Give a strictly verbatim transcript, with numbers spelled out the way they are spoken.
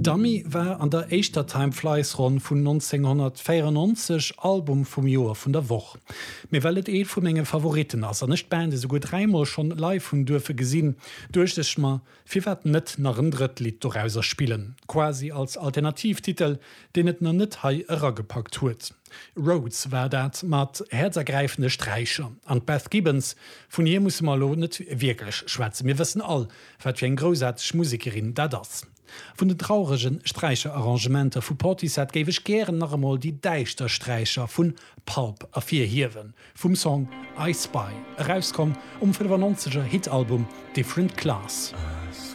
Dummy war an der éischter Time Flies Ronn vun neunzehnhunnertvéierennonzeg Album vum Joer vun der Woch. Mee well et ee vu menge Favoritten ass an ech d'Band esouguer dräimol schonn live hunn duerfe gesinn, duecht ech mer, firwat net nach en drëtt Lidd dorauser spillen, quasi als Alternativtitel, deen et nach net hei eragepackt huet. Roads war dat mat häerzergräifende Sträicher. An d'Beth Gibbons, vun hir musse mer elo net wierklech schwätzen, mir wëssen all, wat fir eng groussaarteg Musekerin dat ass. Vun den traurege Sträicherarrangementer vu Portishead géif ech gären nach emol déi däischter Sträicher vu Pulp ervirhiewen, vum Song I Spy, erauskomm um fënnefannonzeger Hitalbum Different Class.